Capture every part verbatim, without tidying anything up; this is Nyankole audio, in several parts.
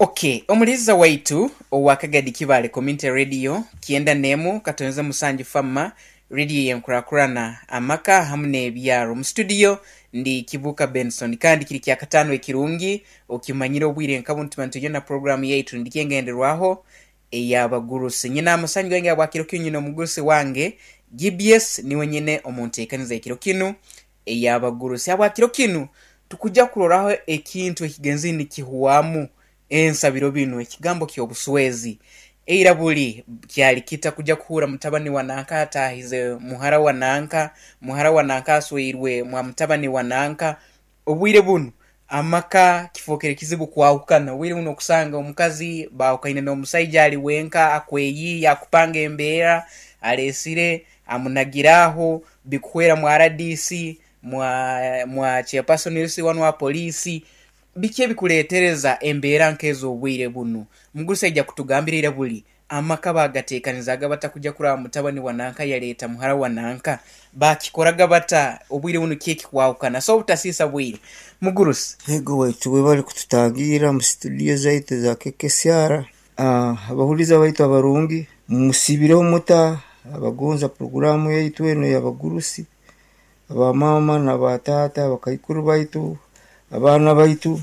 Okay, omuliza waitu owa Kagadi Kibale Community Radio kyenda nemu katonze musanju fama radio yenkurakurana amaka hamu n'ebyaro. Mu studio ndi Kibuka Benson, kandi kiri kya katano ekirungi okimanyire obwire nka buntu bantu na programu yaitu ndikyengenderwaho ey'abagurusi. Nyina amasanyu gange abwakiro kinu, nyina omugurusi wange G B S niwe nyine omunteekaniza ekiro kinu ey'abagurusi. Abwakiro kinu tukujja kuroraho ekintu ekigenzi nikihwamu ensabiro binu, ekigambo ky'obuswezi. Eira buli kyali kita kujja kuhura mutabani wa nanka atahize muhara wa nanka, muhara wa nanka asweirwe mwa mutabani wa nanka. Obwire bunu amaka kifokere kizibu kwahukana. Obwire buno okusanga omukazi bahukaine n'omusaija ali wenka akweyiya akupanga embeera alesire amunagiraho bikuhwera mwa R D C mwa, mwa chairperson wano wa polisi biki ebikuleetereza embeera nk'ez'obwire bunu. Mugurusi aija kutugambira eira buli amaka bagateekanizaga bata kujja kuraba mutabani wa nanka yaleeta muhara wa nanka, bakikoraga bata obwire buno ki ekikwahukana. So obutasiisa bwire mugurusi. Ego waitu bwe bari kututangira mu studio zaitu za K K S R. Ah, abahuliza baitu abarungi musibireho muta abagonza programu yaitu eno y'abagurusi, abamama n'abatata, abakaikuru baitu, abaana baitu,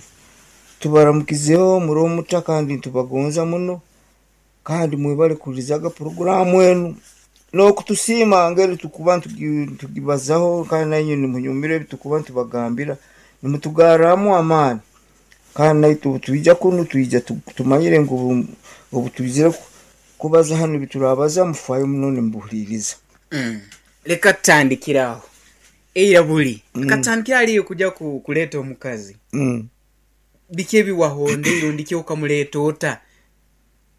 tubaramukizeho muri omuta kandi tubagonza muno, kandi mwebale kulizaga programu enu n'okutusiima ngeri tukuba ntugi-, tugibazaho, kandi nainywe nimunyumire ebitukuba ntubagambira nimutugarramu amaani, kandi naitu twija kunu twija tu-, tumanyire ngu obu-, obu twizire ku-, kubaza hanu biturabaza mufayo muno nimubuhuliriza. Mm. Leka tutandikiraho eira buli. Mm. Katandikira aliyo kujja ku-, kuleeta omukazi. Mm. Biki ebiwahonde irundi ki okamuleeta ota?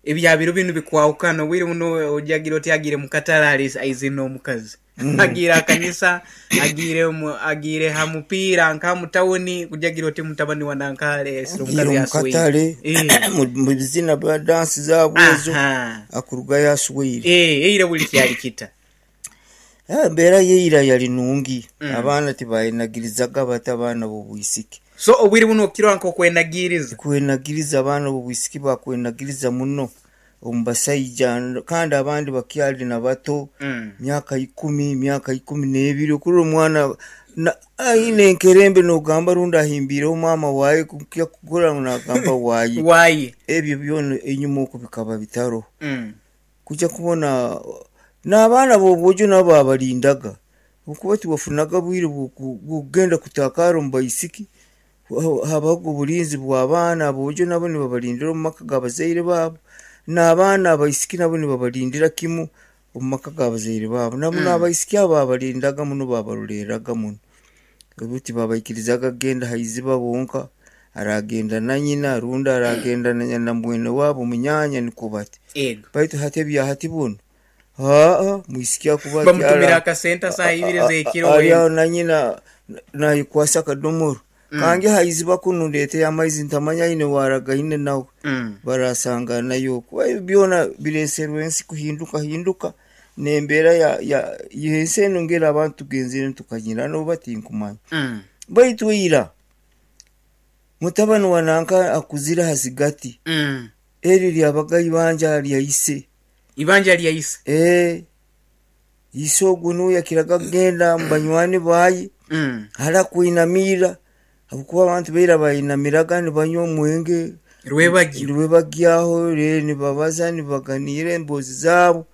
Ebyabiro binu bikwahukana. Obwire buno ojagira oti agire mu katale ali aizina omukazi. Mm. Agire akanisa, agire mu, agire ha mupiira nka mu tawuni, kujagira oti mutabani wa nanka alesire omukazi Agire mu aswire. katale, Eh. mu, mu bizina bya dansi zaabwe ezo, Aha. akuruga yaswire. Eh, eira buli kyali kita. Eh, embeera yeira yali nungi. Mm. Abaana tibayinagirizaga bata abaana b'obwisiki. So obwire buno okirwa nk'okwenagiriza. Kwenagiriza abaana b'obwisiki bakwenagiriza muno omu basaija, kandi abandi bakyali na bato, Mm. myaka ikumi, myaka ikumi n'ebiri, okurora omwana na, aine enkerembe n'ogamba rundi ahimbiireho maama waaye kukya kukora ngu n'agamba waaye. Waaye. Ebyo byona enyuma oku bikaba bitaro. Mm. Kujja kubona n'abaana b'obwojo nabo babalindaga, okuba tibafunaga bwire bw'oku-, bw'okugenda kutakara omu baisiki, ha-, habaho obulinzi bw'abaana aboojo nabo nibabalindira omu maka g'abazaire baabo, n'abaana abaisiki nabo nibabalindira kimu omu maka g'abazaire baabo. Nabo Mm. n'abaisiki abo babalindaga muno, babarolereraga muno. Obu tibabaikirizaga kugenda haiziba bonka, aragenda na nyina rundi aragenda na, na mwene waabo munyaanya nikwo bati. Ego. Baitu hati ebya hati buno, haa, mwisiki akuba Bamutumira akyala- akasente saa ibiri a-, a-, z'ekiro ari wena. aho na nyina nayikwasa akadomoro. Mm. Kange haiziba kunu ndeete amaizi ntamanya aine waragaine nawe. Mm. Barasanga nayo. Kuba ebyo byona bireeserwe ensi kuhinduka hinduka n'embeera ya, ya, y'ensi eno ngeri abantu tugenzire tukanyira noba tinkumanya. Mm. Baitu ira mutabani wa nanka akuzire hasigati. Mm. Eri lyabaga ibanja lya ise. Ibanja lya ise. Eh. Ise ogwo niwe yakiraga kugenda mu banywani baye. Mm. Hara kwinamira. Habwokuba abantu beira bayinamiraga nibanywa omwenge. Rwebagyo. Rwebagyaho, rero nibabaza nibaganira emboozi zaabo.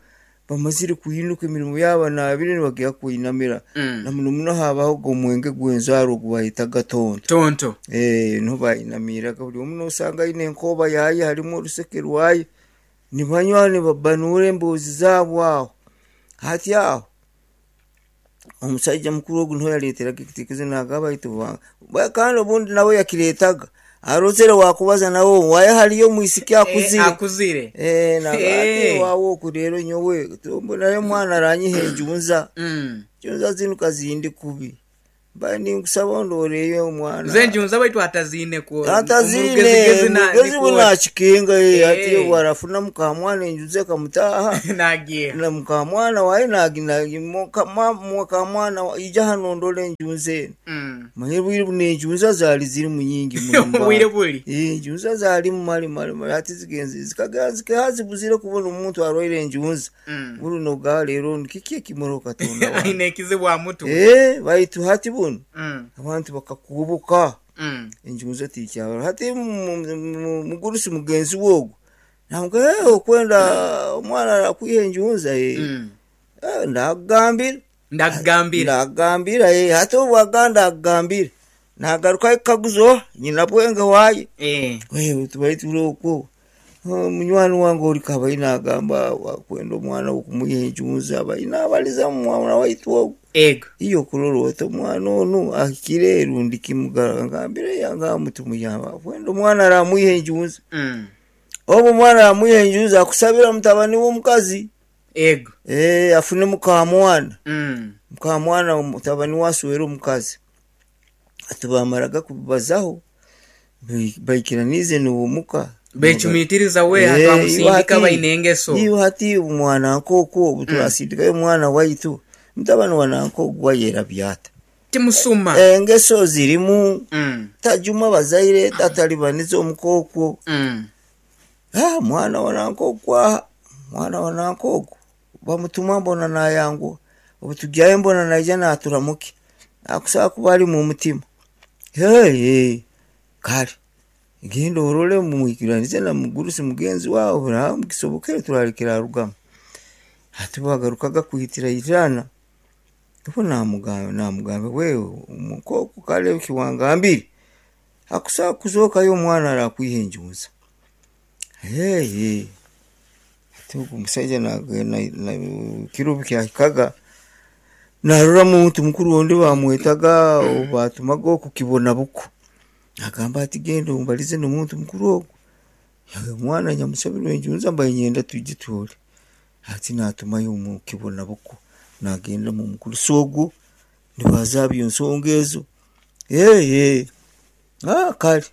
Bamazire kuhinuka emirimo yaabo nabire nibagira kwinamira. Mm. Na muno muno habaho ogwo omwenge gw'enzaaro ogu bayitaga tonto. Tonto. Eh, niho bayinamiraga buri omwe nosanga aine enkoba yaye harimu oruseke rwaye. Nibanywa nibabanura emboozi zaabo aho. Hati aho omushaija mukuru ogu niho yareeteraga ekitekerezo nagamba ati ba-, ba-, kandi obundi nawe yakireetaga. Arozere wakubaza nawe waye hariyo omwisiki akuzire. Eh, akuzire. Eh, nagamba ati Eh. wawe oku rero nyowe, mbonayo omwana aranyiha enjunza. Mm. Enjunza zinu kazindi kubi. Mbaye ninkusaba ondoreyo omwana. Nze njunza baitu atazine ku atazine omugezigezi na- mugezi niko- bunakikinga Eh. ati warafuna mukamwana enjuze kamutaha nagiye na mukamwana waye naginagi mukamwana ija hano ndole enjunze eno. Mm. Manye bwire buno enjunza zaali ziri mu nyingi muno mu Obwire bantu. buli Eh, enjunza zaali mu mali mali mali ati zigenze zikagera zikazibuzire kubona omuntu arwaire enjunza. Mm. Buno ga leero kiki ekimuro Katonda wange. Aine ekizibu amutu. Eh, baitu hati buno Mm. abantu bakakubuka Mm. enjunza tikyabara hati mu- mu- mugurusi mugenzi wogu namuga "Eh, okwenda omwana arakwiha enjunza eh." Mm. Eh, ndakugambira Ndakugambira. ndakugambira eh, hati obwaga ndakugambira nagaruka ekaguzo nyina bwenge waye. Eh. Wewe tubaye turi okwo. Oh, munywani wange ori kabayi nagamba wakwenda omwana okumuha enjunza abayi nabaliza mwana waitu ogu. Ego. Iyo kurora oti omwana onu ahikire rundi kimugara ngambire yanga mutumuyamba kwenda omwana aramwiha enjunza. Mm. Obu omwana aramwiha enjunza akusabira mutabani w'omukazi. Ego. Eh, afune mukamwana. Mm. Mukamwana mutabani waswera omukazi. Ati bamaraga kubazaho baikiranize niwomuka. Bechumitiriza we Eh, hatamusindika iwe hati- baine engeso. Iwe hati omwana nk'okwo obu turasindikayo omwana waitu mutabani wa nanka gwayera byata. Timusuma. Engeso zirimu Mm. tajuma bazaire tatalibaniza omukookwo. Mm. Ah, mwana wa nanka okwaha mwana wa nanka ogwo bamutuma mbona nayanguha obu tujyayo mbona naija naturamuke akusaba kuba ari mu mutima. Hey, hey, kale genda orole mumwikiranize na mugurusi mugenzi wawe buraha mukisobokere turarekera arugamu. Hati bagarukaga kuhitira irana obu namugamba namugamba wewe omukoko kale kiwangambire akusaba kuzookayo omwana arakwiha enjunza. Hey, hey. Ati ogu omushaija na- na- na- kiro kyahikaga narora muntu mukuru ondi bamwetaga batumaga okukibona buko agamba ati genda ombalize n'omuntu mukuru ogu. Yawe omwana nyamusabirwe enjunza mbaye nyenda tujye tuhure. Ati natumayo omu kibona buko nagenda mu mukuru sogo nibazabyo ensonga ezo. Hey, hey. Ah, kale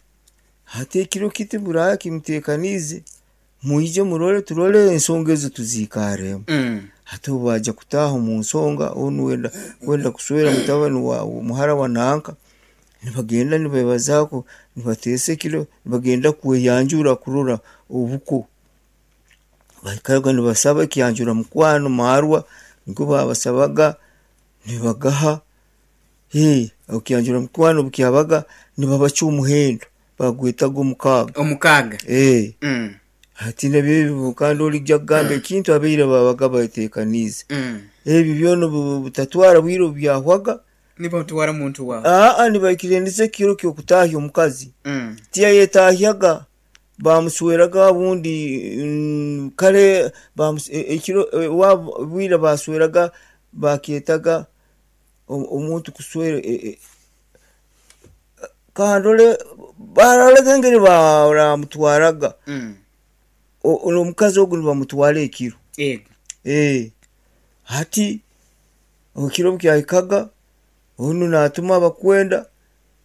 hati ekiro kiti buraya kimuteekaniize mwije murole turole ensonga ezo tuziikaremu. Mm. Hati obu baja kutaaha omu nsonga onu wenda wenda kuswera mutabani wa muhara wa nanka nibagenda nibebazaako nibateesa ekiro nibagenda kweyanjura kurora obuko bahikaga nibasaba ekyanjura mukwano marwa niko babasabaga nibagaha. Hey, okyanjura mukwano bukyabaga nibabaca omuhendo bagwetaga omukaaga. Omukaaga. Eh. Mm. Hati nabyo kandi olijja kugamba ekintu abaire babaga bateekaniize. Mm. Ebyo byona bu- butatwara bwire obu byahwaga. Nibatwara muntu wawe. Aa nibaikiraniza ekiro ky'okutaahya omukazi. Mm. Tiyayetahyaga bamusweraga obundi mm, kale bamus- e- ekiro e, wa- bwire basweraga bakyetaga o- omuntu kuswera e- e- kandole barolaga engeri baramutwaraga. Mm. O- ono omukazi ogu nibamutwara ekiro. Ego. Eh, hati ekiro bukyahikaga onu natuma abakwenda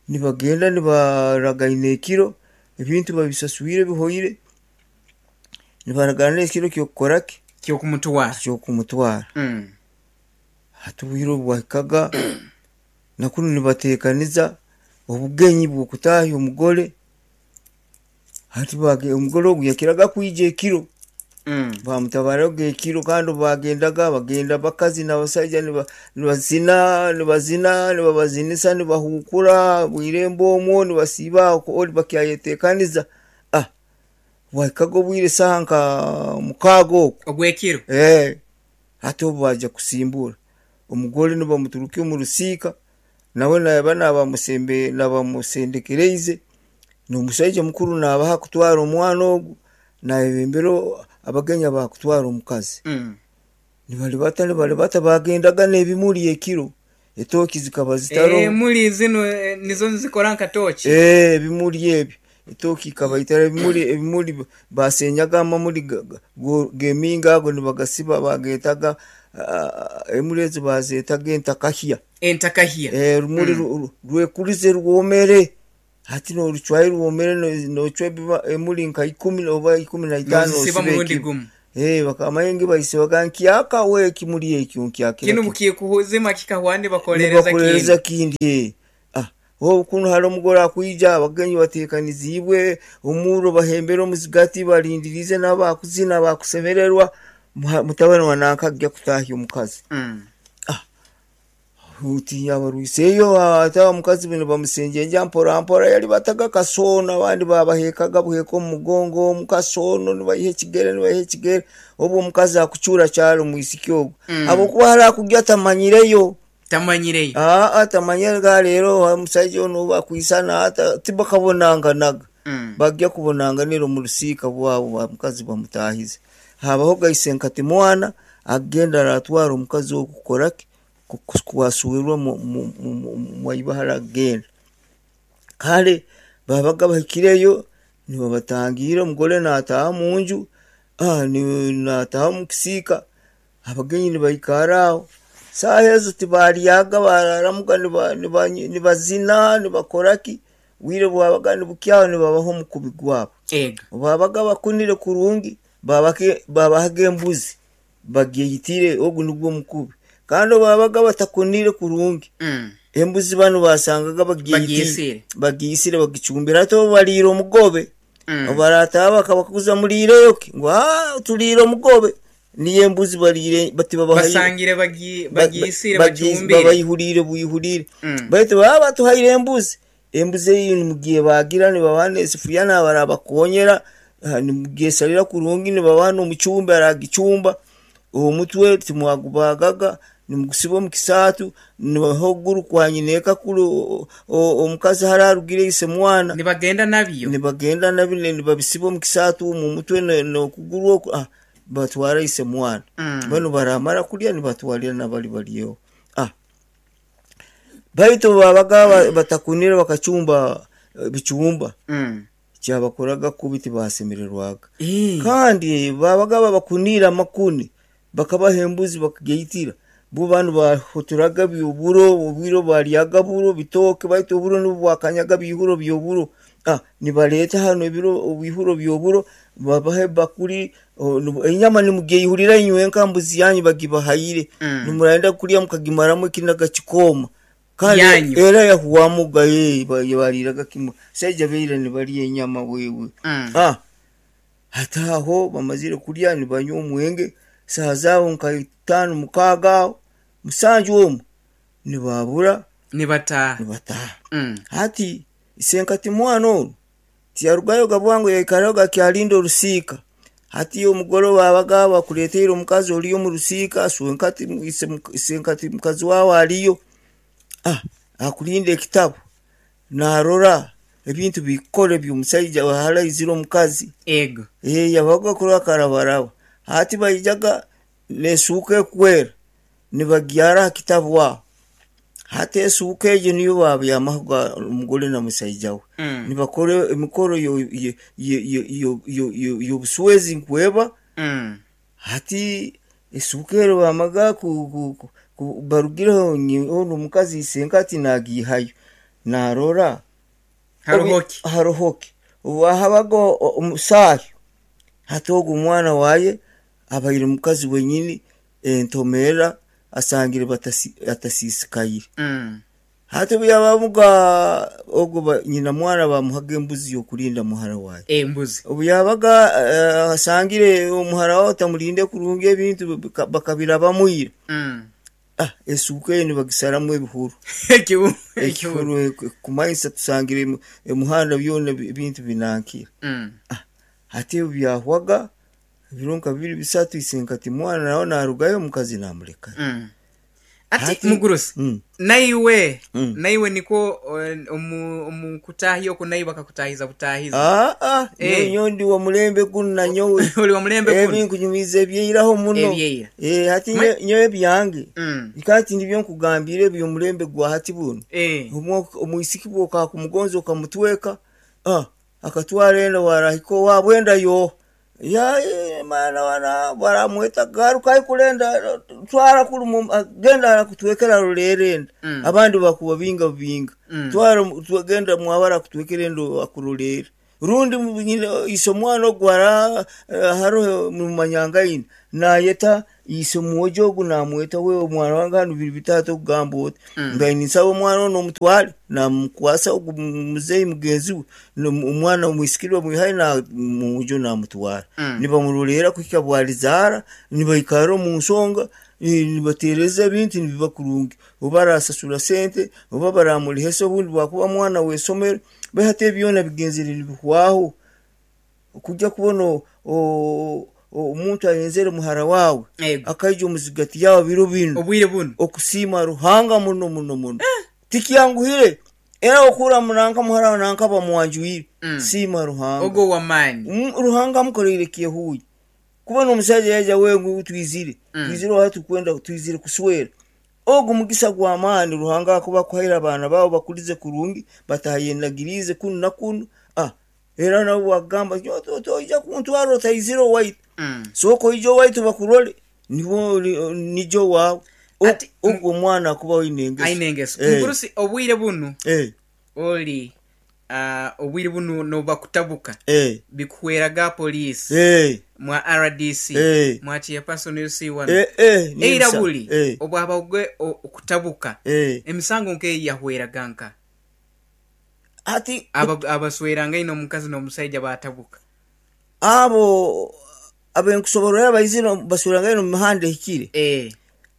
nibagenda nibaragaina ekiro ebintu babisaswire bihoire nibaragana ekiro kyokukoraki Kyokumutwara. kyokumutwara. Mm. Hati obwire obu bwahikaga nakunu nibateekaniza obugenyi bw'okutaahya omugore. Hati bage- omugore ogu yakiraga kwija ekiro. Mm. Bamutabaraga ekiro kandi bagendaga bagenda bakazi n'abasaija niba- nibazina nibazina nibabazinisa nibahukura bwirembo omwo nibasiiba okwo ori bakyayeteekaniza. Ah, bwahikaga obwire saaha nka mukaaga okwo. Ogw'ekiro. Eh, hati obu baja kusimbura omugore nibamuturuka omu rusiika nawe naba nabamusembe nabamusendekereize n'omushaija mukuru nabaha kutwara omwana ogu nayebembera abagenyi abakutwara omukazi. Mm. Nibaribata nibaribata bagendaga n'ebimuri ekiro etooki zikaba zitaroho. Eh, muli zino eh, nizo nzikora nka tochi. Eh, ebimuri ebyo Etooke ikabaitara ebimuri ebimuri basenyaga amamuri g'eminga ago nibagasiba bagetaga emuri ezo bazetaga entakahya. Entakahya. Eh, rumuri mm. rwekurize rwomere hati norucwayo rwomere nocwa emuri nka ikumi oba ikumi na itaano nozisiba murundi gumu. Eh, bakamayengi baisibaga nkyaka we ekimuri ekyo nkyakira kinu mukikuhuzima kikahwande bakolereza bakolereza kindi. Ah, obu kuno hari omugore akwija abagenyi batekanizibwe omuro bahembera omuzigati barindirize n'abakuzina bakusemererwa mutabani wa nankajja kutahya omukazi. Mm. Ah, uti abarwiseyo ata omukazi bino bamusenjenja mpora mpora yali bataga kasono abandi babahekaga buheka omugongo omukasono nibayiha ekigere nibayiha ekigere obu omukazi akucura kyalo mwisiki ogwo. Mm. Habwokuba hari akujya tamanyireyo tamanyireyo aa tamanyire rero omusajja ono bakwisana ata tibakabonanganaga. Mm. Bajja kubonanganira omu rusiika bwabo omukazi bamutahize habaho gaise nkati mwana agenda aratwara omukazi ogwo kukoraki kwasuwirwa mwaibahara agenda kale babaga bahikireyo nibabatangira omugore nataha munju ah, nataha mukisiika abagenyi nibaikara aho saaha ezo tibaryaga bararamuga nibazina nibakoraki bwire bwabaga nibukyaho nibabaho omukubi gwabo. Ego. Babaga bakunire kurungi babahaga embuzi bagyeyitire ogu nigwo omukubi kandi babaga batakunire kurungi. Mm. Embuzi bano basangaga Bagiyisire. bagiyisire bagicumbira ate baliire omugobe. Mm. Barataha bakabakuza muliireyo ki ngu ah tuliire omugobe niyo embuzi baliire bati babahaire basangire bagi bagiyisire bacumbire babayihurire buyihurire. Mm. Baitu baba batuhaire embuzi embuzi eyo nimugiye bagira nibabaha esefuriya nabarabakonyera nimugiyesalira kurungi nibabaha n'omucumbi aragicumba omutwe timwagubagaga nimugusiba omu kisaatu nibahoguru kwanyina kuru omukazi hari arugire ise mwana nibagenda nabyo nibagenda nabyo nibabisiba omu kisaatu omu mutwe n'okuguru oku ah, batwara ise mwana. Mm. Bano baramara kulya nibatwalira nabali baliyo. Ah, baitu babaga batakunire bakacumba bichumba. Mm. Kyabakoraga kubi tibasemererwaga. Eh. Kandi babaga babakunira amakuni bakabaha embuzi bakageyitira bo banu bahoturaga byoburo obwiro baryaga buro bitoke baitu oburo nibwo bwakanyaga bihuro byoburo. Ah, nibaleta hano ebiro obihuro byoburo babahe bakuri enyama nimugeyihurira inywe enkambuzi yanyu bagibahayire. Mm. Nimurenda kulya mukagimaramu ekinaga kikoma kandi Yanyu. era yahuwamuga ye baliraga kimwe saija beira nibalya enyama wewe. Mm. Ah, hataho bamazire kulya nibanywa omwenge saha zaabo nka itaano mukaaga aho musanju omwo nibabura nibataha nibataha. Mm. Hati isenkati mwana ono tiyarugayo gabwangu yaikarayo gakyalinda orusiika hati omugore babaga bakuleteire omukazi oriyo omu rusiika swenkati isenkati mukazi wawe ariyo. Ah, akulinda ekitabo narora ebintu bikore by'omusaija haraizire omukazi. Ego. Eh, yabaga kurora karabaraba hati baijaga nesuuka ekwera nibagyara aha kitabu aho hati esuuka egyo niyo babyamaho omugore na musaija we. Mm. Nibakora emikoro y'obuswezi nkweba. Mm. Hati esuuka ero bamaga barugireho ono omukazi isenkati nagiihayo narora haruhoki haruhoki obu habaga omusaahi hati ogwo omwana waye abaire mukazi wenyini entomera asangire atasisikaire. Mm. Hati obu yabamuga ogwo nyina mwana bamuhaga embuzi y'okurinda muhara waye. Embuzi obu yabaga uh, asangire omuhara wawe tamurinde kurungi ebintu bakabirabamwire. Mm. Ah, esuuka eyo nibagisaramu ebihuru ekihuru kumanyisa tusangire emuhanda byona ebintu binankire. Mm. Ah, hati ebyo byahwaga ebiro nka bibiri bisatu isenkati mwana nawe narugayo omukazi namurekayo. Mm. Ati mugurusi Mm. naiwe Mm. naiwe niko omu omu kutahya oku naiwe bakakutahiza butahiza. Ah, ah, Eh. nyo ndi wa mulembe guno nanyowe Oli wa mulembe guno ebinkunyumiza ebyeiraho muno. Ebyeira. Eh, hati Ma- nyo nyowe ebyange Mm. kati ndibyo nkugambire eby'omulembe gwa hati buno. Eh. Omwisiki bwokakumugonza okamutweka ah, Akatwara enda warahika owaabwe enda yo ya eh, mana wana baramweta garuka aikulenda twara kuri mu- genda arakutwekera rurera enda. Mm. Abandi bakuba binga binga. Mm. Twara twagenda mwabara kutwekera enda akururera rundi mu- nyina- ise omwana ogwara hariho mumanyangaine nayeta ise mwojo ogu namweta we omwana wange hanu biri bitatu okugamba oti Mm. nga ninsaba omwana ono omutware namukwasa ogu muzeyi mugenzi we no- omwana omwisikiri bamwihayo na mwojo namutwara. Mm. Nibamurorera kuhika bwarizaara nibaikara omu nsonga eh, nibatereza ebintu nibiba kurungi oba arasasura sente oba baramurihesa obundi bwakuba mwana w'esomero behati ebyona bigenzere nibihwaho okujja kubona o- o- omuntu ayenzere muhara wawe Ego. akaija omuzigati yawe biro binu Obwire buno okusiima Ruhanga muno muno muno tikyanguhire era okura munanka muhara nanka bamwanjuire. Mm. Siima Ruhanga ogwo wamaani. Mm, Ruhanga amukoreire kyehuuya kubona omusajja yaija wengu twizire. Mm. Twizire oha tukwenda twizire kuswera ogu mugisa gw'amaani Ruhanga akuba akuhaire abaana baabo bakurize kurungi batayenagiriize kunu na kunu ah era nabo bagamba "Nyo, to- toija kuntwara otaizire owaitu. Mm. Sooka oije owaitu bakurole nibo nijo waawe O- Ati- ogwo omwana akuba oine engeso. Aine engeso. Eh. Mugurusi obwire bunu Eh, oli ah, obwire bunu nobakutabuka eh, bikuhweraga poliisi eh, mwa R D C Eh. mwa chairperson L C one eh, eh, ni eira ebisa. buli Eh, obwaba ogwe o- okutabuka eh. emisango nkeyi yahweraga nka Ati Aba- abasweranga ino omukazi n'omusaija batabuka abo abenkusoborera baizire basweranga omu mihanda ehikire. Eh.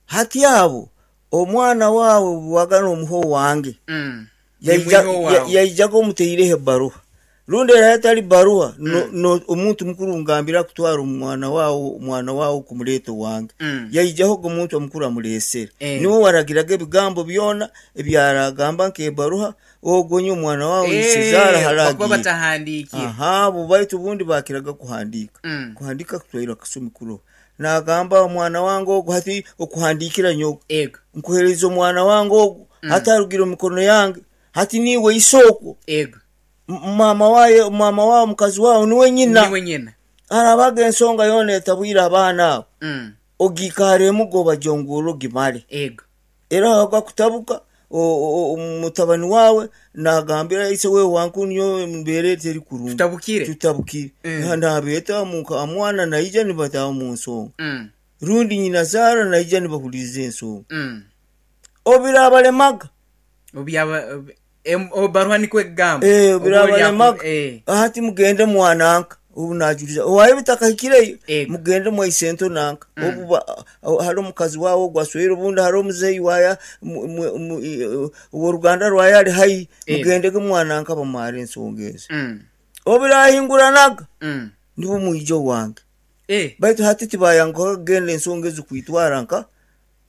Hati abo omwana wawe bwagana omuho wange Mm. Yaija- Nimwiho ya- wawe. yaijaga omuteireho ebaruha rundi era hatari baruha no, no, omuntu mukuru ngambira kutwara omwana wawe omwana wawe kumuleeta owange. Mm. Yaijaho ogo omuntu omukuru amureesere. Eh. Niwe waragiraga ebigambo byona ebyaragamba nk'ebaruha ogonye omwana wawe Eh, isizaara bakuba haragiire batahandiikire. Aha abo baitu obundi bakiraga kuhandiika. Mm. Kuhandiika kutwaire akasumi kuroho nagamba omwana wange ogu hati okuhandiikira nyowe Ego. nkuhereza omwana wange ogu hati arugire omu mikono yange hati niiwe isookwo. Ego. M- mama waye mama wawe mukazi wawe niwe nyina. Niwe nyina. Arabaga ensonga yoona etabwire abaana abo. Mm. Ogiikaremu gobajongura ogimare. Ego. Era agakutabuka o- o- mutabani wawe nagambira ise wewe wankunyo mbeera eteri kurungi. Tutabukire. Tutabukire. Mm. Nabeeta muka mwana naija nibataha mu nsonga Mm. rundi nyina zaara naija nibahuliriza ensonga. Mm. Obirabaremaga. Obyaba ob- em- obaruha nikwo ekugamba. Eh, Oba oli aku- obirabaremaga eh. hati mugende mwananka obu najuriza owaye bitakahikireyo. Ego. Mugende mwaisento nanka obu ba- hari omukazi wawe ogwaswere obundi hari omuzeyi waya mu- mu- mu- i- oworuganda rwaye ari haihi. Ego. Mugendege mwananka bamware ensonga ezo. Mm. Obirahinguranaga Mm. nibo mwijo wange. Eh. Baitu hati tibayanguha kugenda ensonga ezo kwitwara nka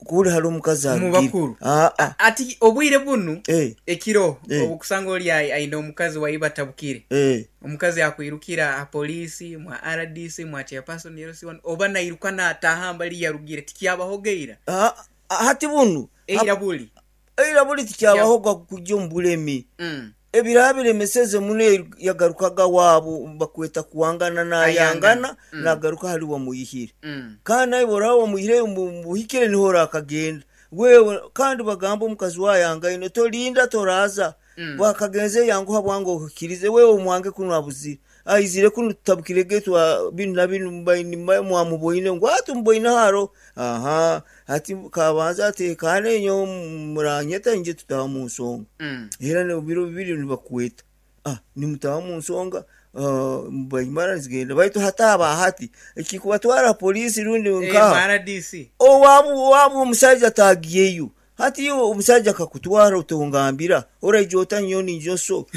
kuri hari omukazi Mu arugire. bakuru. Ah, ah. Ati obwire bunu Eh, ekiro Eh. obukusanga oli ai- aine omukazi waiba atabukire. eh. Omukazi akwirukira aha poliisi mwa R D C mwa chairperson L C one oba nairuka nataha mbali yarugire tikyabahogeira. Ah, ah, hati bunu Eira buli. eira buli tikyabahoga kujja omu bulemi. Mm. Ebiraba biremeseze muno yagarukaga waabo bakweta kuwangana nayangana. Mm. Nagaruka hali wamuyihire. Mm. Kandi nawe oraba wamuyihire muhikire niho orakagenda wewe kandi bagamba omukazi wayangaine tolinda toraza. Mm. Bwakagenze yanguha bwange ohikirize wewe omwange kunu abuzire aizire kunu tutabukire getwa binu na binu mbaini mwamuboine ngu ati muboine haro aha ati kabanza atekane nyo muranyeta nje tutaha mu nsonga. Mm. Era ne biro bibiri nibakweta ah nimutaha mu nsonga ah, mbaimara zigenda baitu hataba hati ekikubatwara polisi rundi Eh, nkaha R D C. owabu owabu omusajja atagiyeyo hati yo omusajja akakutwara otongambira oraija otanyo ninjo so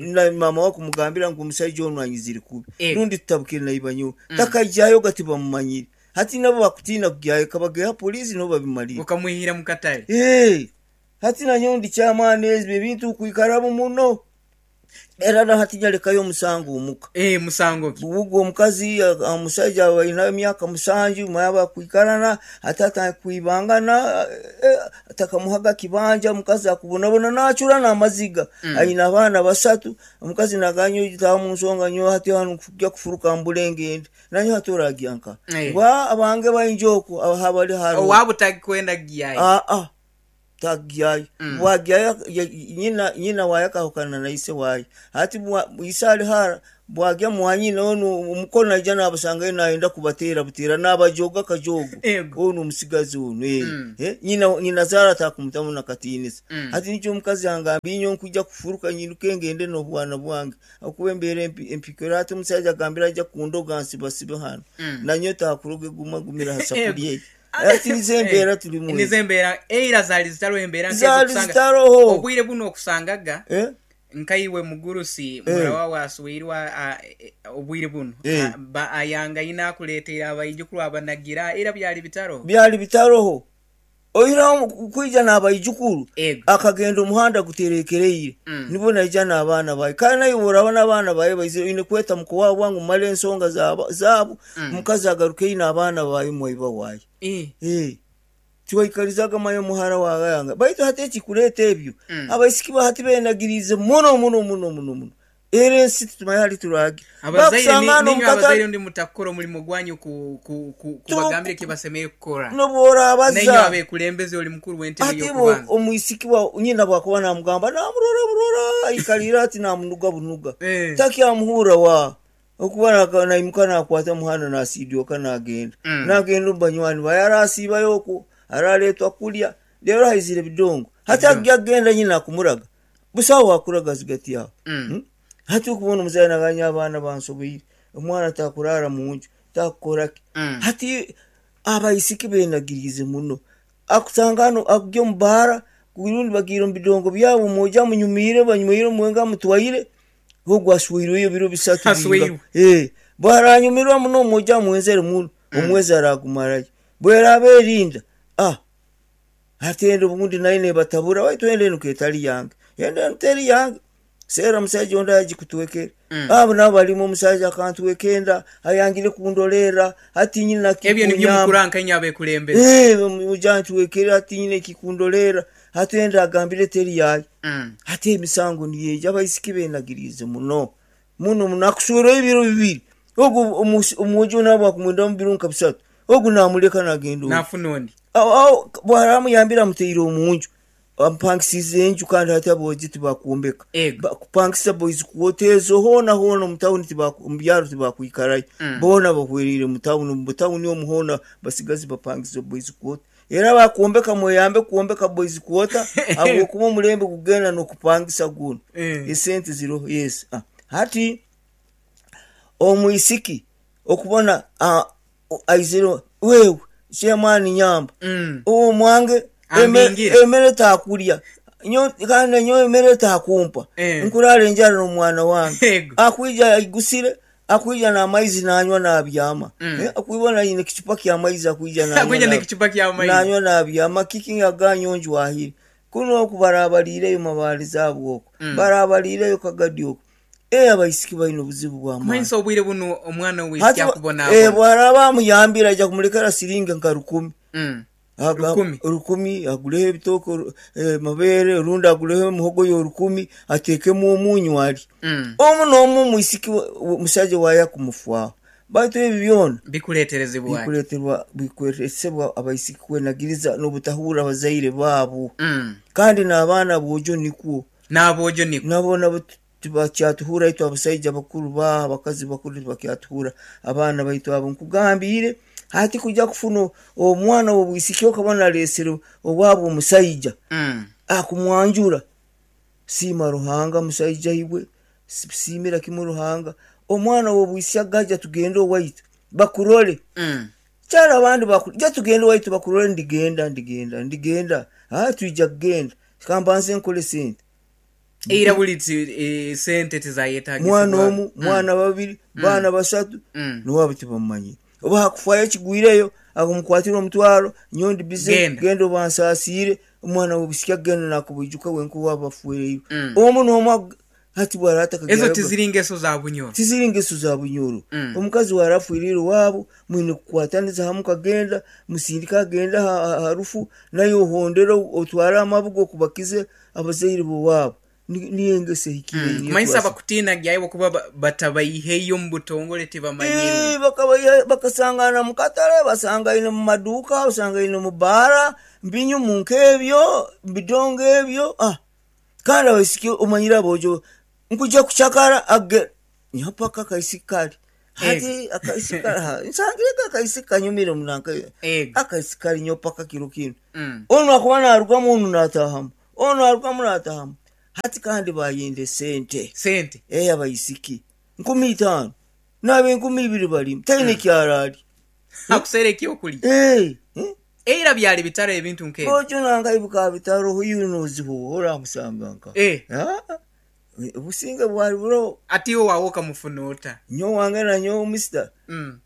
na mama wako mugambira ngu omusajja ono anyizire kubi. Eh. Rundi tutabukire naibanyo takaijayo gati bamumanyire hati nabo bakutina kugyayo kabageha polisi nabo babimalire. Ukamwihira mukatale. Eh, hati nanyo ndi kyamaani ebyo ebintu kwikaramu muno. Era na hati nyalekayo omusango omuka. Eh, musango ki? Ubwo omukazi omusajja alina emyaka musanju mwaba kwikarana atata kuibangana eh, atakamuhaga kibanja, omukazi akubonabona nachura n'amaziga. Mm. Ayina abaana basatu, omukazi naganyo gitaha mu nsonga nyo hati hanu kujya kufuruka mbulenge nanyo hati oragyanka. Eh. Ngwa abange bainjoku ahabali haro. Owabo takwenda gyayo. Ah ah. Tagyayo. Mm. Bwagyayo nyina nyina waye akahukana na ise waye. Hati bwa ise ali hara bwagya mwanyina onu omukono aija nabasanga nayenda kubatera butera nabajoga kajogo. Ego. Onu omusigazi onu eh. Mm. Eh, nyina nyina zara takumutamu nakatinisa. Mm. Hati nikyo omukazi angambye inyo nkujja kufuruka nyiruke ngende n'obwana bwange. Okuba embeera empi empikira hati omusajja agambira ajja kundoga nsibasibe hano. Mm. Nanyo takuroge guma gumira ha safuriya. Ego. Ati nizo embeera turimu. Nizo embeera eira zaali zitariho embeera nkezo Zaali okusanga- zitaroho. Obwire buno okusangaga Eh? nkaiwe mugurusi Eh. murawa waswirwa obwire buno Eh. A- ba- ayanga ina akuleetera abaijukuru abanagira era byali bitaro. Byali bitaroho. Oira kwija n'abaijukuru Ego. akagenda omuhanda guterekereire. Mm. Nibo naija n'abaana baye. Kandi naye oraba n'abaana baye baizire oine kweta mukowa wangu mumale ensonga zabo zabo. Mm. Omukazi agaruke ine abaana baye mwaiba waye. Eh. Eh. Tiwaikarizaga mayo muhara wawe yanga. Baitu hati ekikureeta ebyo. Mm. Abaisiki ba hati benagiriize muno muno muno muno muno. Era ensi tutumanye hali turage. Abazaire Bakusanga ni- hano ninywe omukata- abazaire ndi mutakukora omulimu gwanyu ku- ku- ku- kubagambira ekibasemere kukora. N'obworabaza. Nainywe abekulembeze oli mukuru w'entebe Ati bo y'okubanza. omwisiki wa nyina bwakuba namugamba namurora burora aikalira ati namunuga bunuga. Eh. Takyamuhura wa. Okuba naka- naimuka nakwata muhanda nasidyoka nagenda. Mm. Nagenda omu banywani baye arasiibayo okwo araletwa kulya rero haizire ebidongo. Hati Ebidongo. ajya kugenda nyina akumuraga. Busaho wakuraga zigati yawe. Mm. Hmm? Hati okubona omuzaire naganya abaana bansobeire. Omwana takurara munju takukoraki. Mm. Hati abaisiki benagiriize muno. Akusanga hano akugya omu baara rundi bagiire omu bidongo byabo mwoja munyumiire banywire omwenga mutwaire ogwo aswirweyo ebiro bisatu Aswirwe. binga. Eh, bwaranyumirwa muno omwoja amwenzere muno omwezi aragumarayo. Bweraba erinda ah hati enda obundi nayo nebatabura waitu enda enu ketari yange. Enda enu teri yange. Seera omusajja ondi agikutwekere. Mm. Abo nabo barimu omusajja akantweka enda ayangire kundolera hati nyina Ebyo nibyo kikunyamba. mukura nkainywe abekulembeze. Eh, muja ntwekere hati nyina ekikundolera hati enda agambire teri yaye. Mm. Hati emisango niyeija abaisiki benagiriize muno muno muno akuswerayo ebiro bibiri ogu omu- omwojo nabo akumwenda mu biro nka bisatu ogu namuleka nagenda ogu. Nafuna ondi. Awo- awo bwaramuyambira amuteire omunju amupangisize enju kandi hati abogi tibakumbeka. Ego. Bakupangisa boys quarter ezo hoona hoona omu tawuni tibaku- omu byaro tibakwikarayo. Mm. Boona bahwerire mu tawuni, mu tawuni omu hoona basigazi bapangisa boys quarter. Era bakuombeka mweyambe kuombeka boys quarter habwokuba omulembe gugenda n'okupangisa guno. Eh. Esente ziroho yes. Ah. Hati omwisiki okubona ah, aizire wewe chairman nyamba. Mm. Owo mwange eme- Ambingira. emere takulya. Nyo kandi nyo emere takumpa. Eh. Nkurara enjara n'omwana wange. Ego. Akwija aigusire akwija n'amaizi nanywa nabyama. Mm. Eh, akwibona yine kichupa kya maizi akwija nanywa. Akwija na- n'ekichupa kya maizi. Nanywa nabyama kiki aganyo njwahire. Kuno okubarabalireyo mabali zaabo okwo. Mm. Barabalireyo kagadi okwo. Eh, abaisiki balina obuzibu bwa maani. Kumanyisa obwire buno omwana Hati ow'isiki ba- akubonabona. eh, bwaraba amuyambira aija kumulekera siringi nka rukumi. Mm. Aga- Rukumi. Rukumi aguleho ebitooke oru-, eh, mabeere orundi aguleho emihogo yo rukumi ateekemu omunyu ali. Mm. Omu n'omu omwisiki wa-, wa-, omusajja waaye akumufwaho. Baitu ebyo byona Bikuleeterezebwa. bikuleeterwa bikuleetesebwa abaisiki kwenagiriza n'obutahurra abazaire baabo. Mm. Kandi n'abaana boojo nikwo. N'aboojo nikwo. Nabo nabo tibakyatuhura itwe abasaija bakuru ba abakazi bakuru tibakyatuhura abaana baitu abo nkugambire hati kujja kufuna omwana w'obwisiki okaba naleesere owaabo omusaija Mm. akumwanjura siima Ruhanga musaija iwe siimira kimu Ruhanga omwana w'obwisiki agaja tugende owaitu bakurole. Mm. Kyara abandi baku-, ja tugende owaitu bakurole ndigenda ndigenda ndigenda ah twija kugenda kambanze nkole sente. Era buli ti-, eh, sente tizayetagisibwa. Mwana omu, Mm. mwana babiri, Mm. baana basatu, Mm. niwabo tibamumanyire. Oba hakufayo ekigwireyo akumkwatira omutwaro nyondi bize Genda. genda obansaasiire omwana w'obusiki agenda nakubuijuka wenka owaaba afuireyo. Mm. Omu n'omu ag-, Hati bwarata Ezo tiziri ngeso za Bunyoro. Tiziri ngeso za Bunyoro. Mm. Omukazi warafwirire waabo mwine kukwataniza hamwe kagenda musindika agenda harufu nayo ohondera otwara amabugo okubakize abazaire bo waabo. Niyo engeso ehikire. Mm. Niyo Kumanyisa twasa. Abakutina gyaibo kuba ba- batabayiheyo mu butongole tibamanyirwe. Eh, bakabayiha- bakasangana mu katale, basangaine mu maduuka, basangaine mu baara mbinyumu nk'ebyo bidongo ebyo. Ah, kandi abaisiki omanyire abojo nkuja kucakara age nyapaka akaisiki kali hati akaisiki kali ha, nsangireko akaisiki kanyumire munanka. Ego. Akaisiki kali nyo paka kiro kinu. Mm. Onu akuba narugamu, onu natahamu, onu arugamu natahamu. Hati kandi bayenda esente. Sente. Eh, abaisiki nkumi itaano nabe enkumi ibiri balimu taine kyarali. Akuseera ekyokulya. Eh, eh? Era byali bitaro ebintu nk'ebyo. Ojo nanga ibuka bitaro yunoziho oramusanga nka. Eh. Ah, obusinge bwali buro. Ati iwe wawe okamufuna ota? Nyo wange na nyo mister. Mm.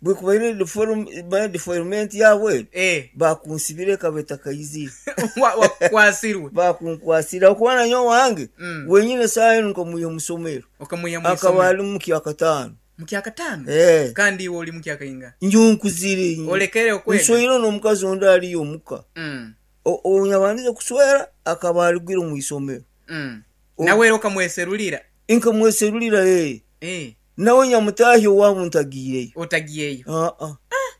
Bwekubaire deform ba deformment yabwe. Eh. Bakunsibire kabeta kayizire. Wa- wakwasirwe. Bakunkwasira okuba na nyo wange. Mm. Wenyine sayo nkomuye musomero. Okamuya Akaba mwisomero. ali mu kyakataano. Mu kyakataano? Eh. Kandi iwe oli mu kyakainga. Njunkuzire. Olekere okwega. Nsweire n'omukazi ondi aliyo omuka. Mm. O- Onyabandize kuswera akaba aligwire mu isomero. Mm. O- Nawe era okamweserulira. Nkamweserulira eh. Eh. Nawe nyamutahi owaabo ntagiireyo. Otagiyeyo. Ah ah.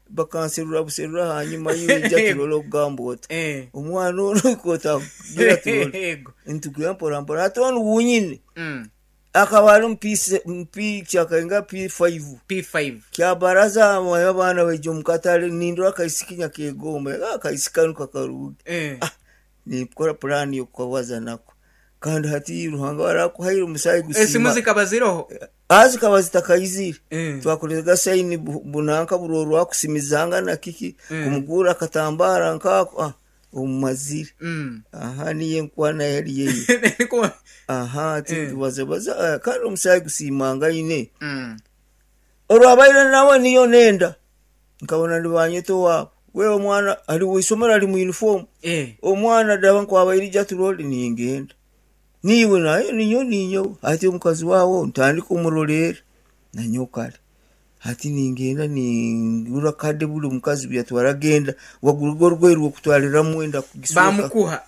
Bakanserura buserura hanyuma y'ijja turole okugamba ota. Eh. Omwana ono kotagira turole. Ego. Ntugira mpora mpora ate ono wunyine. Mm. Akaba ali mu P mu P kyakainga P five. P five. Kyabaraza amaye abaana baija omu katale nindora akaisiki nyakegomba akaisiki kanu kakaruge. Eh. Ah, ninkora puraani y'okukabaza nako kandi hati Ruhanga warakuhaire omusaayi Esimu gusiima. zikaba ziroho. Ah, zikaba zitakayizire. Eh. Twakorega sayini bu- bunanka buri orwakusimizanga na kiki. Mm. Kumugura akatambara nkako, ah, omumazire. Mm. Aha, niyo enkwana yari yeyo. Niko- Aha, ati Mm. tubazabaza, ah, kandi omusaayi gusiimanga ine. Mm. Olwabaire nawe niyo nenda nkabona nibanyeta owaabo wewe omwana ali wisomero ali mu uniform. Eh. Omwana daba nkwabaire ija turole ningenda niiwe naye ninyo ninyo ati omukazi waawe ntandika omurorera nanyo kale hati ningenda ningura kade buli omukazi byatwara genda wagura orugwayi rwokutwariramu enda kugisweka. Bamukuha.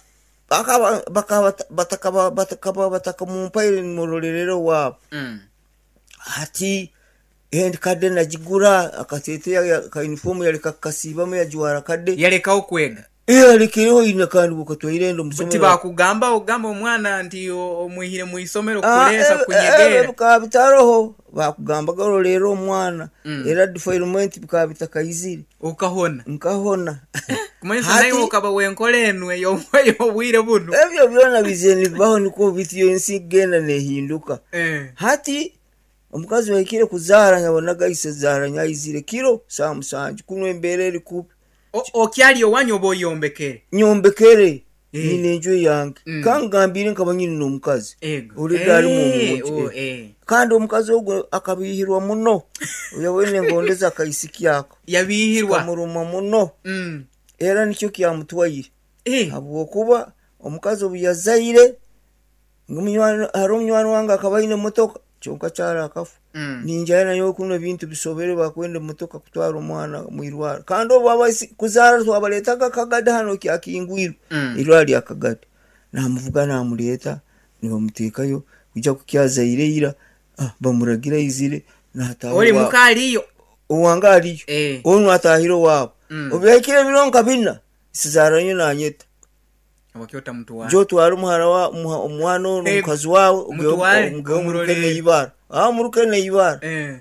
Bakaba bakaba batakaba batakaba batakamumpaire nimurorerera owaabo. Mm. Hati endi kade nagigura akateteya ka uniform yaleka kasiibamu yajwara kade. Yalekawo kwega. Eh, alekereho ina kandi bukatwaire enda omusomero. Tibakugamba ogamba omwana nti o- omwihire mu isomero Ah, kuleesa eh, eh, kunyegera. Bikaba bitaroho bakugambaga ororera omwana. Mm. Era defilement bikaba bitakayizire. Okahona. Nkahona. Kumanyisa Hati- naye okaba wenkola enu eyo- ey'obwire buno. Ebyo byona bize nibibaho niko bityo ensi genda nehinduka. Eh. Hati omukazi wahikire kuzaara nyabonaga ise zaara nyayizire kiro saa musanju kuno embeera eri kubi. O- okyali owanyu oba oyombekere? Nyombekere. Eh. Nyine enju yange. Mm. Kangambire nkaba nyine n'omukazi Ego. olidde ali Eh, mu o- eh. kandi omukazi ogwo akabihirwa muno oyabwene ngondeza akaisiki ako. Yabihirwa. Kamuruma muno. Mm. Era nikyo kyamutwaire. Eh. Habwokuba omukazi obu yazaire ngamunywani hari omunywani wange akaba aine emotoka kyonka kyari akafa. Mm. Ninjayo nayo kuno ebintu bisobere bakwenda emotoka kutwara omwana mwirwaro kandi obu abaisi kuzaara twabaretaga akagade hano kyakingwirwe. Mm. Irwaro lya Kagadi namuvuga namureeta nibamuteekayo kuja kukyazaire ira, ah, bamuragira aizire nataha Oli owaabo. muka aliyo. Owange aliyo. Eh. Onu atahire owaabo. Mm. Obu yahikire ebiro nka bina sizaara nyo nanyeta. Wakyota mutwara. Jotwara omuhara wa omuha- omwana ono Eh, omukazi wawe mutware, omugeyo muruke omurorere. neibara, ah, muruke neibara. Eh.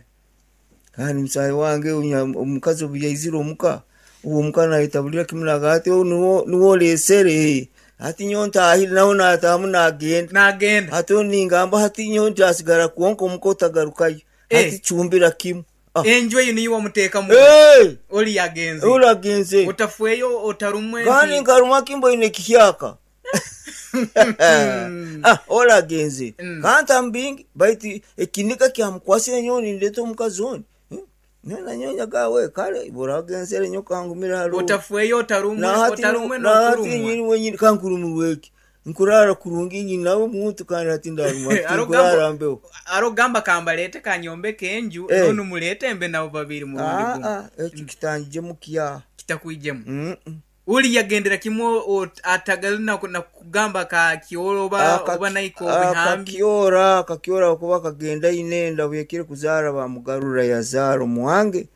Kandi musaayi wange onya- omukazi obu yaizire omuka uwo omuka nayetabulira kimwe naga ati niwo niwo oresere hati nyo ntahire nawe natahamu nagenda. Nagenda. Hati ningamba hati nyo ntasigara kwonka omuka otagarukayo. Eh. Hati cumbira kimwe. Ah. Enju eyo niyo wamuteekamu. Eh, Oli yagenze. uragenze. Otafweyo otarumwe. Kandi nti- nkaruma kimboine kihyaka, ah, oragenze. Mm. Kantambingi baitu ekinika kyamukwasire nyowe nindeta omukazi oni. Hmm? Nyowe nanyonya gawe kale buragenzere nyo kangumira haro. Otafweyo otarumwe Nahati otarumwe nahati n'okurumwa. nyini wenyini kankurumurweki. Nkurara kurungi nyina omuntu kandi hati ndaruma Arogamba- nkurara mbeho. Arogamba kambalete kanyombeke enju, Eh. nonu mulete mbe nabo babiri murundi Ah, gumu. ah, ekyo kitangijemu kya. Kitakwijemu. Mm, mm. Uli yagendera kimwe o- atagali na na kugamba ka kioro oba Aka- oba naiko bihambi. Akakiora akakiora kuba kagenda inenda buyekire kuzaara bamugarura yazaara omuwange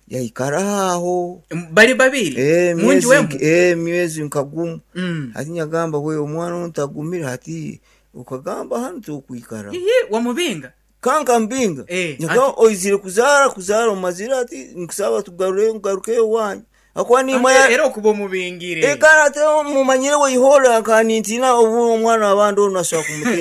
yaikara aho. Bali babiri Eh, munju myezi wemu. nk- eh, myezi nkagumu. Mm. Hati nyagamba we omwana ono tagumire, hati ukagamba hanu tukwikara. Iye wamubinga. Kanka mbinga. Eh, Nyagamba oizire kuzaara kuzaara omazire, ati nkusaba tugarure ngarukeyo wanyu akuba nimanya. Era okuba omubingire. Ekana ate mumanyire weihora kanintina obu omwana wabandi ono asobola kumutera.